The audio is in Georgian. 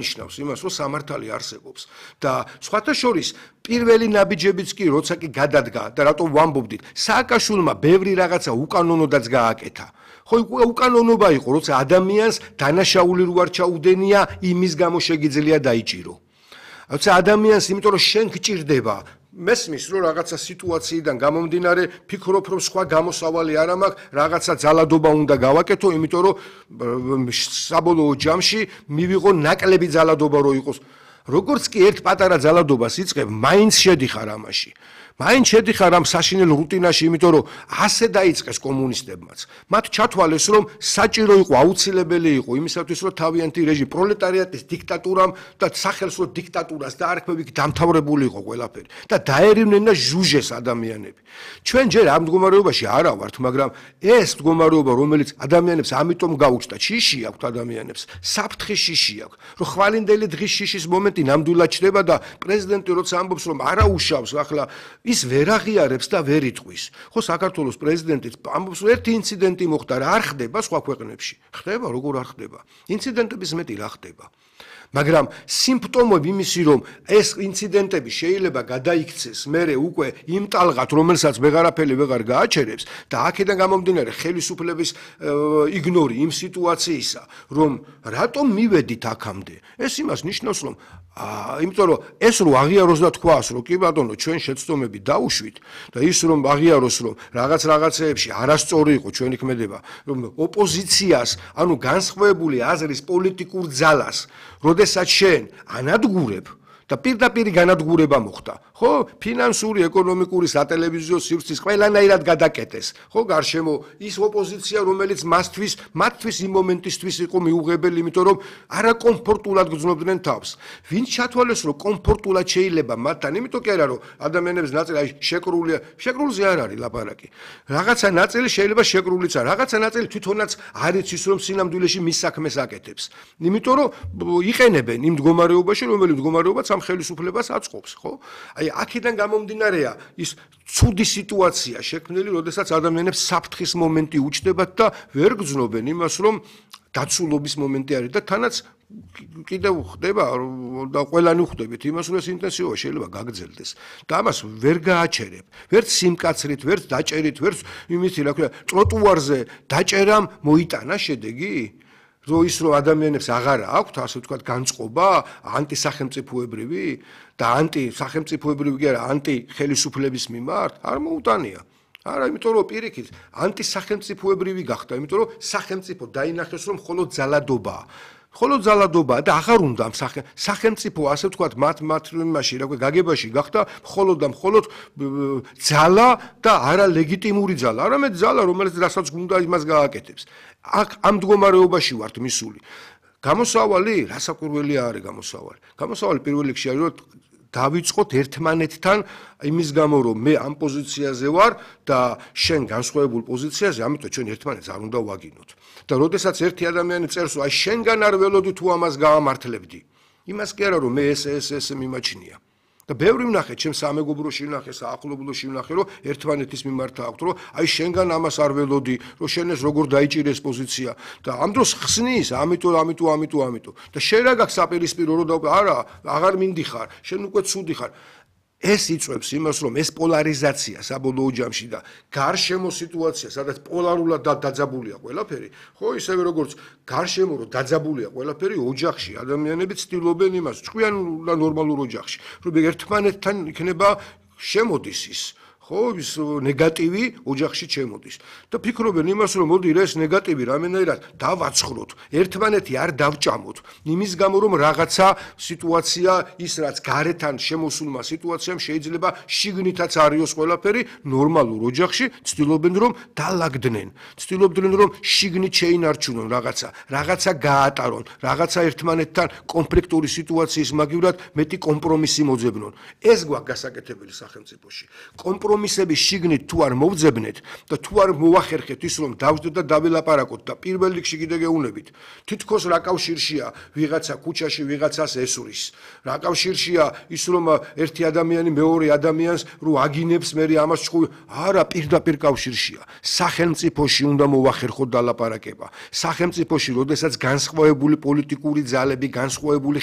ნიშნავს იმას, რომ სამართალი არსებობს და სხვათა შორის პირველი ნაბიჯებიც კი როცა კი გადადგა და რატომ ვამბობდით, სააკაშვილმა ბევრი რაღაცა უკანონოდაც გააკეთა. ხო უკანონობა იყო, როცა ადამიანს დანაშაული რო არ ჩაუდენია, იმის გამო შეგიძლია დაიჭირო. როცა ადამიანს, იმიტომ რომ შენ გჭირდება მესმის რომ რაღაცა სიტუაციიდან გამომდინარე ფიქრობ რომ სხვა გამოსავალი არ მაქვს რაღაცა ძალადობა უნდა გავაკეთო იმიტომ რომ საბოლოო ჯამში მივიღო ნაკლები ძალადობა რო იყოს როგორც კი ერთ პატარა ძალადობას იწყებ მაინც შედიხარ ამაში მაინც შედიხარ ამ საშინელ რუტინაში იმიტომ რომ ასე დაიწყეს კომუნისტებმაც მათ ჩათვალეს რომ საჭირო იყო აუცილებელი იყო იმისათვის რომ თავიანთი რეჟიმი პროლეტარიატის დიქტატურამ და სახელს რომ დიქტატურას დაარქმევით დამთავრებული იყო ყველაფერი და დაერივნენ და ჟუჟეს ადამიანები ჩვენ ჯერ ამ მდგომარეობაში არა ვართ მაგრამ ეს მდგომარეობა რომელიც ადამიანებს ამიტომ გაუჩნდა შიში აქვს ადამიანებს საფრთხის შიში აქვს რომ ხვალინდელი დღის შიშის მომენტი ნამდვილად ჩდება და პრეზიდენტი როცა ამბობს რომ არა უშავს ახლა ის ვერ აღიარებს და ვერ იტყვის. ხო საქართველოს პრეზიდენტიც ამბობს რომ ერთი ინციდენტი მოხდა რა არ ხდება სხვა ქვეყნებში. ხდება როგორ არ ხდება? ინციდენტების მეტი რა ხდება? მაგრამ სიმპტომები იმისი რომ ეს ინციდენტები შეიძლება გადაიქცეს მერე უკვე იმ ტალღად რომელსაც ვეღარაფერი ვეღარ გააჩერებს და აქედან გამომდინარე ხელისუფლების იგნორი იმ სიტუაციისა რომ რატომ მივედით აქამდე ეს იმას ნიშნავს რომ იმიტომ რომ ეს რო აღიაროს და თქვას რომ კი ბატონო ჩვენ შეცდომები დაუშვით და ის რომ აღიაროს რომ რაღაცეებში არასწორი იყო ჩვენი ქმედება რომ ოპოზიციას ანუ განსხვავებული აზრის პოლიტიკურ ძალას როდესაც შენ ანადგურებ და პირდაპირ განადგურება მოხდა. ხო, ფინანსური, ეკონომიკური, სატელევიზიო სივრცის ყველანაირად გადაკეტეს. ხო, გარშემო ის ოპოზიცია, რომელიც მათთვის იმ მომენტისთვის იყო მიუღებელი, იმიტომ რომ არაკომფორტულად გრძნობდნენ თავს. ვინც ჩათვალეს, რომ კომფორტულად შეიძლება მათთან, იმიტომ კი არა, რომ ადამიანების ნაწილი შეკრულია, შეკრულზე არ არის ლაპარაკი. რაღაცა ნაწილი შეიძლება შეკრულიც არა, რაღაცა ნაწილი თვითონაც არ იცის, რომ სინამდვილეში მის საქმეს აკეთებს. იმიტომ რომ იყენებენ იმ მდგომარეობაში, რომელიც მდგომარეობაც ამ ხელისუფლებას აწყობს, ხო? აი აქედან გამომდინარეა ის ცუდი სიტუაცია შექმნილი, როდესაც ადამიანებს საფრთხის მომენტი უჩნდებათ და ვერ გრძნობენ იმას, რომ დაცულობის მომენტი არის და თანაც კიდევ ხდება და ყველანი ხვდებით იმას, რომ ეს ინტენსივობა შეიძლება გაგრძელდეს და ამას ვერ გააჩერებ. ვერც სიმკაცრით, ვერც დაჭერით, ვერც იმითი, რა ქვია, ტროტუარზე დაჭერამ მოიტანა შედეგი? რომ ის რომ ადამიანებს აღარა აქვთ ასე ვთქვათ განწყობა ანტისახელმწიფოებრივი და ანტისახელმწიფოებრივი კი არა ანტიხელისუფლების მიმართ არ მოუტანია არა იმიტომ რომ პირიქით ანტისახელმწიფოებრივი გახდა იმიტომ რომ სახელმწიფო დაინახეს რომ მხოლოდ ძალადობაა მხოლოდ ძალადობაა და აღარ უნდა ამ სახელმწიფო ასე ვთქვათ მათ იმაში რა ქვია გაგებაში გახდა მხოლოდ და მხოლოდ ძალა და არა ლეგიტიმური ძალა არამედ ძალა რომელიც რასაც გუნდა იმას გააკეთებს აქ ამ მდგომარეობაში ვართ მისული გამოსავალი რასაკვირველი არის გამოსავალი პირველ რიგში არის რომ დავიწყოთ ერთმანეთთან იმის გამო რომ მე ამ პოზიციაზე ვარ და შენ განსხვავებულ პოზიციაზე ამიტომ ჩვენ ერთმანეთს არ უნდა ვაგინოთ და როდესაც ერთი ადამიანი წერს რომ აი შენგან არ ველოდი თუ ამას გაამართლებდი იმას კი არა რომ მე ეს მიმაჩნია და ბევრი ვნახე ჩემ სამეგობროში ვნახე საახლობლოში ვნახე რომ ერთმანეთის მიმართ აქვს რომ აი შენგან ამას არ ველოდი რომ შენ ეს როგორ დაიჭირეს პოზიცია და ამ დროს ხსნის ამიტომ და შენ რა გაქვს საპირისპირო რომ არა აღარ მინდიხარ შენ უკვე ცუდი ხარ ეს იწვევს იმას რომ ეს პოლარიზაცია საბოლოო ჯამში და გარშემო სიტუაცია სადაც პოლარულად დაძაბულია ყველაფერი ხო ისევე როგორც გარშემო რომ დაძაბულია ყველაფერი ოჯახში ადამიანები ცდილობენ იმას ჭკვიან და ნორმალურ ოჯახში რომ ერთმანეთთან იქნება შემოდის ის ხო ის ნეგატივი ოჯახში შემოდის და ფიქრობენ იმას რომ მოდი ეს ნეგატივი რამენაირად დავაცხროთ ერთმანეთი არ დავჭამოთ იმის გამო რომ რაღაცა სიტუაცია ის რაც გარეთან შემოსულმა სიტუაციამ შეიძლება შიგნითაც არიოს ყველაფერი ნორმალურ ოჯახში ცდილობენ რომ დალაგდნენ ცდილობდნენ რომ შიგნით შეინარჩუნონ რაღაცა გაატარონ რაღაცა ერთმანეთთან კონფლიქტური სიტუაციის მაგივრად მეტი კომპრომისი მოძებნონ ეს გვაქვს გასაკეთებელი სახელმწიფოში კომპრომისი კომპრომისების შიგნით თუ არ მოვძებნეთ და თუ არ მოვახერხეთ ის რომ დავждეთ და დაველაპარაკოთ და პირველ რიგში კიდე გეუბნებით თითქოს რა კავშირშია ვიღაცა ქუჩაში ვიღაცას ესურის რა კავშირშია ის რომ ერთი ადამიანი მეორე ადამიანს რო აგინებს მე ამას ჭკუ არა პირდაპირ კავშირშია სახელმწიფოში უნდა მოვახერხოთ დალაპარაკება სახელმწიფოში როდესაც განსხვავებული პოლიტიკური ძალები განსხვავებული